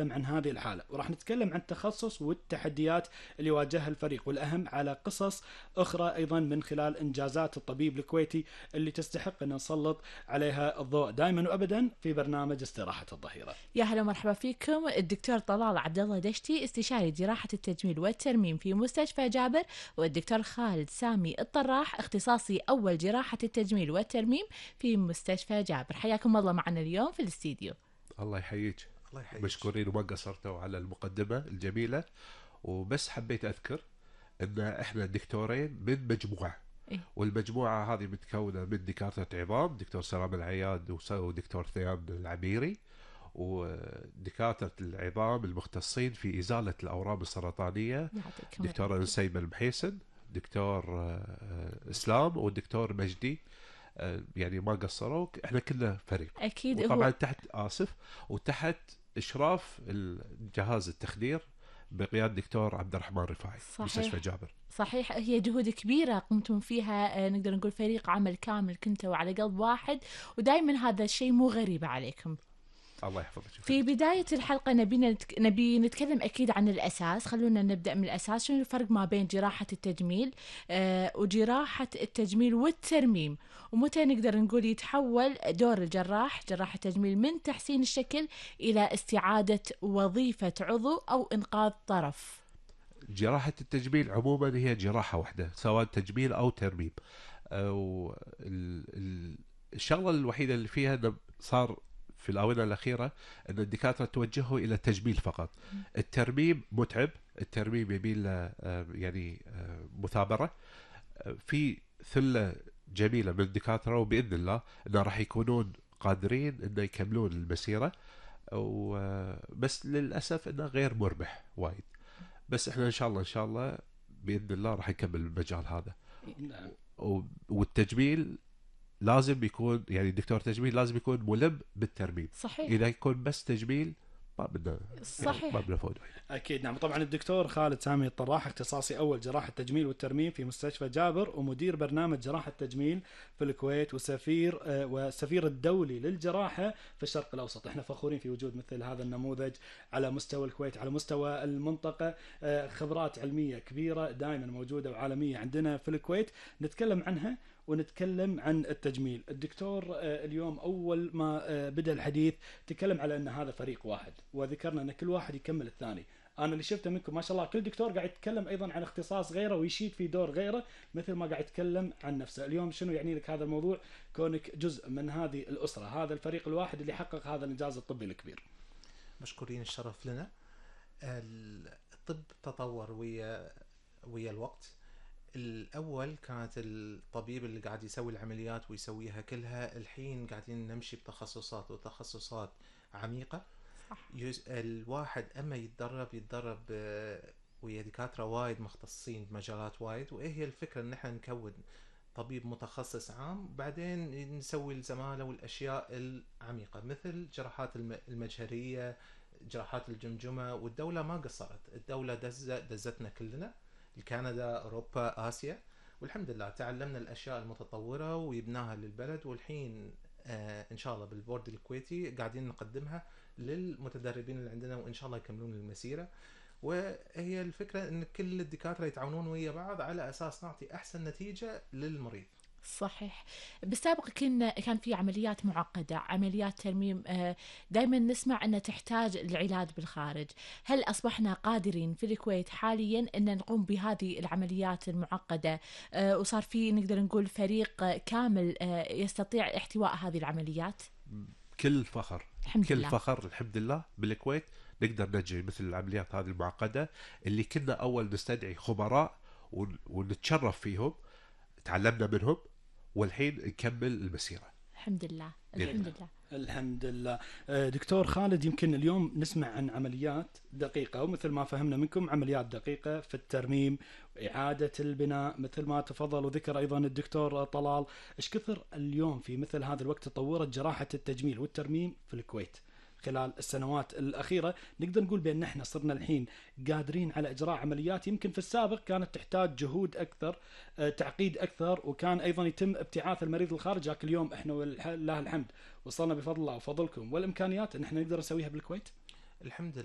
عن هذه الحالة، وراح نتكلم عن التخصص والتحديات اللي واجهها الفريق، والأهم على قصص أخرى أيضا من خلال إنجازات الطبيب الكويتي اللي تستحق أن نسلط عليها الضوء دائما وأبدا في برنامج استراحة الظهيرة. يا هلا مرحبا فيكم. الدكتور طلال عبد الله دشتي، استشاري جراحة التجميل والترميم في مستشفى جابر، والدكتور خالد سامي الطراح، اختصاصي أول جراحة التجميل والترميم في مستشفى جابر. حياكم الله معنا اليوم في الاستديو. الله يحييك. مشكورين وما قصرتوا على المقدمة الجميلة، وبس حبيت أذكر إن إحنا دكتورين من مجموعة، والمجموعة هذه متكونة من دكاترة عظام، دكتور سلام العياد ودكتور ثياب العميري، ودكاترة العظام المختصين في إزالة الأورام السرطانية دكتور نسيم المحيسن، دكتور إسلام، والدكتور مجدي. يعني ما قصروا، احنا كلنا فريق اكيد. وطبعا تحت وتحت اشراف الجهاز التخدير بقيادة دكتور عبد الرحمن رفاعي، مستشفى جابر. صحيح، هي جهود كبيرة قمتم فيها، نقدر نقول فريق عمل كامل كنتوا على قلب واحد، ودائما هذا الشيء مو غريب عليكم. الله يحفظك. في بداية الحلقة نبي نتكلم أكيد عن الأساس. خلونا نبدأ من الأساس. شنو الفرق ما بين جراحة التجميل وجراحة التجميل والترميم، ومتى نقدر نقول يتحول دور الجراح جراح التجميل من تحسين الشكل إلى استعادة وظيفة عضو أو إنقاذ طرف؟ جراحة التجميل عموما هي جراحة واحدة، سواء تجميل أو ترميم. الشغلة الوحيدة اللي فيها صار في الآونة الأخيرة أن الدكاترة توجهوا إلى التجميل فقط. الترميم متعب، الترميم يبيل يعني مثابرة. في ثلة جميلة من الدكاترة، وبإذن الله أنه راح يكونون قادرين أن يكملون المسيرة، بس للأسف أنه غير مربح وايد. بس إحنا إن شاء الله بإذن الله راح يكمل المجال هذا. والتجميل لازم يكون، يعني دكتور تجميل لازم يكون ملم بالترميم. صحيح. إذا يكون بس تجميل ما بدنا، صحيح، يعني ما بدنا فوضى. أكيد نعم. طبعا الدكتور خالد سامي الطراح، اختصاصي أول جراحة التجميل والترميم في مستشفى جابر، ومدير برنامج جراحة التجميل في الكويت، والسفير الدولي للجراحة في الشرق الأوسط. احنا فخورين في وجود مثل هذا النموذج على مستوى الكويت، على مستوى المنطقة. خبرات علمية كبيرة دائما موجودة وعالمية عندنا في الكويت، نتكلم عنها ونتكلم عن التجميل. الدكتور اليوم أول ما بدأ الحديث تكلم على أن هذا فريق واحد، وذكرنا أن كل واحد يكمل الثاني. أنا اللي شفته منكم ما شاء الله كل دكتور قاعد يتكلم أيضا عن اختصاص غيره ويشيد في دور غيره مثل ما قاعد يتكلم عن نفسه. اليوم شنو يعني لك هذا الموضوع كونك جزء من هذه الأسرة، هذا الفريق الواحد اللي حقق هذا الإنجاز الطبي الكبير؟ مشكورين، الشرف لنا. الطب تطور ويا الوقت. الأول كانت الطبيب اللي قاعد يسوي العمليات ويسويها كلها، الحين قاعدين نمشي بتخصصات وتخصصات عميقة. صح. الواحد أما يتدرب ويا دكاترة وايد مختصين بمجالات وايد، وإيه هي الفكرة إن احنا نكون طبيب متخصص عام، بعدين نسوي الزمالة والأشياء العميقة مثل جراحات المجهرية، جراحات الجمجمة. والدولة ما قصرت، الدولة دزتنا كلنا، كندا، أوروبا، آسيا، والحمد لله تعلمنا الأشياء المتطورة ويبناها للبلد. والحين إن شاء الله بالبورد الكويتي قاعدين نقدمها للمتدربين اللي عندنا، وإن شاء الله يكملون المسيرة. وهي الفكرة إن كل الدكاترة يتعاونون ويا بعض على أساس نعطي أحسن نتيجة للمريض. صحيح. بالسابق كان في عمليات معقدة، عمليات ترميم دائما نسمع أنها تحتاج العلاج بالخارج. هل أصبحنا قادرين في الكويت حاليا أن نقوم بهذه العمليات المعقدة، وصار في نقدر نقول فريق كامل يستطيع احتواء هذه العمليات؟ كل فخر، الحمد لله. فخر الحمد لله بالكويت نقدر نجري مثل العمليات هذه المعقدة اللي كنا أول نستدعي خبراء ونتشرف فيهم، تعلمنا منهم، والحين نكمل المسيرة. الحمد لله. الحمد لله. الحمد لله. دكتور خالد، يمكن اليوم نسمع عن عمليات دقيقة، ومثل ما فهمنا منكم عمليات دقيقة في الترميم وإعادة البناء مثل ما تفضل وذكر أيضا الدكتور طلال. إيش كثر اليوم في مثل هذا الوقت تطورت جراحة التجميل والترميم في الكويت خلال السنوات الأخيرة؟ نقدر نقول بأن احنا صرنا الحين قادرين على إجراء عمليات يمكن في السابق كانت تحتاج جهود أكثر، تعقيد أكثر، وكان أيضا يتم ابتعاث المريض للخارج. لكن اليوم احنا ولله الحمد وصلنا بفضل الله وفضلكم والإمكانيات أن احنا نقدر نسويها بالكويت. الحمد لله.